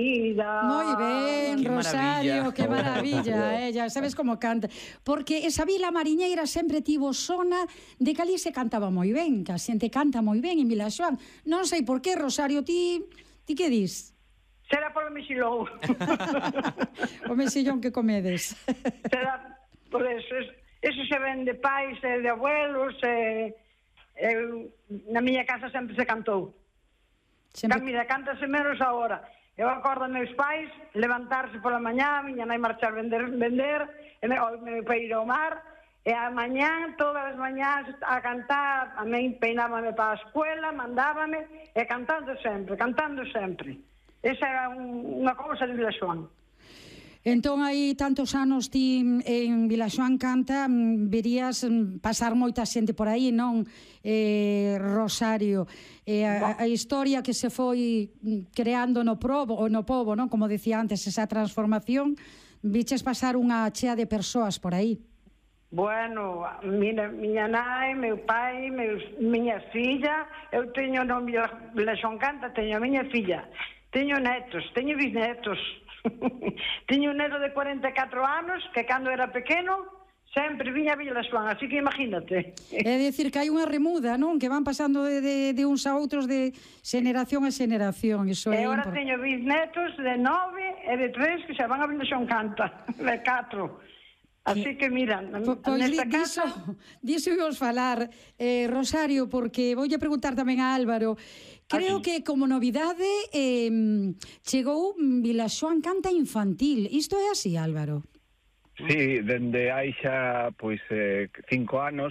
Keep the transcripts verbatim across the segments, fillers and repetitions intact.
Moi ben, Rosario, que maravilla, eh, ya sabes como canta. Porque esa vila mariñeira sempre tivo sona de que ali se cantaba moi ben, que a xente canta moi ben en Vilaxoán. Non sei por qué, Rosario, ti, ti que dis? Será polo mexilón. O mexillón que comedes. Será por eso. Eso se ven de pais e de abuelos, e, e na miña casa sempre se cantou. Sempre... Mira, cántase menos agora. Eu acordo meus pais levantarse pola mañá, miña nai marchar vender, vender, e me, o meu pai ir ao mar, e a mañá, todas as mañás, a cantar, a mí peinábame para a escuela, mandábame, e cantando sempre, cantando sempre. Esa era un, unha cousa de Vilaxoán. Entón, aí tantos anos ti en Vilaxoán canta, verías pasar moita xente por aí, non, eh, Rosario? Eh, a, a historia que se foi creando no probo, ou no pobo, non? Como decía antes, esa transformación, viches pasar unha chea de persoas por aí. Bueno, mira, miña nai, meu pai, meus, miña filla, eu teño no Vilaxoán canta, teño a miña filla, teño netos, teño bisnetos. Tiño un neto de cuarenta e catro anos que cando era pequeno sempre viña a Vilaxoán, así que imagínate. É dicir que hai unha remuda, non? Que van pasando de, de, de uns a outros de xeneración a xeneración. Iso e é agora import... teño bisnetos de nove e de tres que xa van a Vilaxoán canta, de catro. Así que, mira, po, pois nesta di, casa... Diso íbamos falar, eh, Rosario, porque voulle preguntar tamén a Álvaro. Creo que como novidade eh, chegou Vilaxoán Canta Infantil. Isto é así, Álvaro? Sí, dende hai xa pois eh, cinco anos,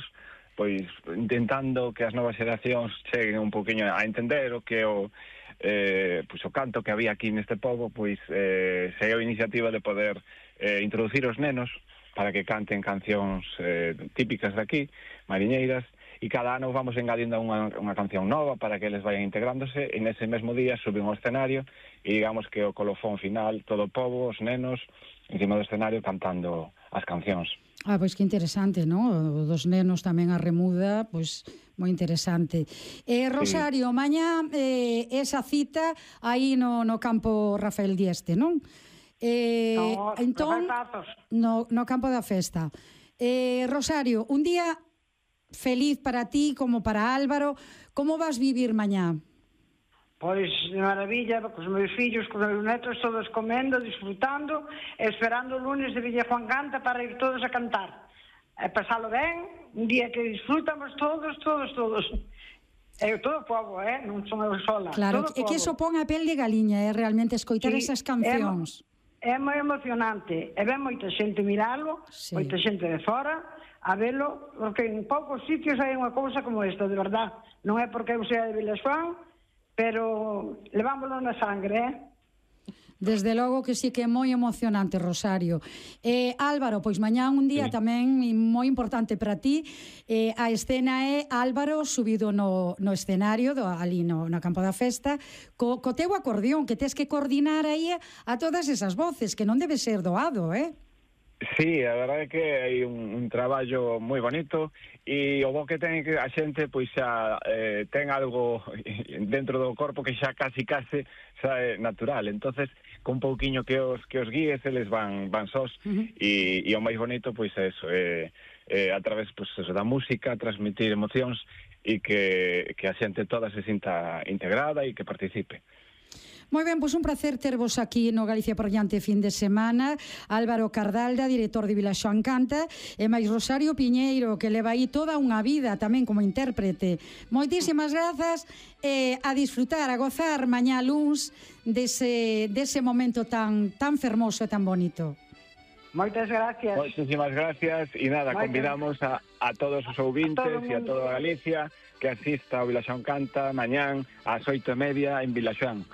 pois intentando que as novas xeracións cheguen un poquinho a entender o que o eh, pois o canto que había aquí neste pobo, pois eh, se a iniciativa de poder eh, introducir os nenos para que canten cancións eh, típicas de aquí, mariñeiras, e cada ano vamos engadindo unha, unha canción nova para que eles vayan integrándose, e nese mesmo día suben ao escenario e digamos que o colofón final, todo o pobo, os nenos, encima do escenario cantando as cancións. Ah, pois que interesante, non? O dos nenos tamén a remuda, pois moi interesante. Eh, Rosario, sí. Mañá eh, esa cita aí no, no campo Rafael Dieste, non? Eh, no, entón, no, no campo da festa. Eh, Rosario, un día feliz para ti como para Álvaro. Como vas vivir mañá? Pois de maravilla, cos meus fillos, cos meus netos, todos comendo, disfrutando, esperando o lunes de Vilaxoán Canta para ir todos a cantar. E pasalo ben, un día que disfrutamos todos, todos, todos. É todo o povo, eh? Non son eu sola. Claro, é que iso pon a pel de galiña, é eh? realmente escoitar sí, esas cancións. É, é moi emocionante. E ven moita xente miralo, sí. Moita xente de fora, a velo, porque en poucos sitios hai unha cousa como esta, de verdad. Non é porque eu sea de Vilaxoán, pero levámoslo na sangre, eh? Desde logo que sí que é moi emocionante, Rosario. Eh, Álvaro, pois mañá un día sí. tamén moi importante para ti. Eh, a escena é Álvaro subido no, no escenario, do, ali no, no campo da festa, co, co teu acordeón, que tes que coordinar aí a todas esas voces, que non debe ser doado, eh? Sí, a verdade é que hai un, un traballo moi bonito e o bo que ten que a xente pois xa eh, ten algo dentro do corpo que xa casi case xa é natural, entonces con un pouquiño que os que os guíes eles van van sós uh-huh. e, e o máis bonito pois é eso, é, é a través pois, eso, da música transmitir emocións e que, que a xente toda se sinta integrada e que participe. Moi ben, pois un placer tervos aquí no Galicia por diante fin de semana. Álvaro Cardalda, director de Vilaxoán Canta, e máis Rosario Piñeiro, que leva aí toda unha vida tamén como intérprete. Moitísimas grazas e a disfrutar, a gozar mañá luns dese, dese momento tan, tan fermoso e tan bonito. Moitas gracias. Moitísimas gracias e nada, Moitas. Convidamos a, a todos os ouvintes e a toda a Galicia que asista ao Vilaxoán Canta mañán ás oito e media en Vilaxoán.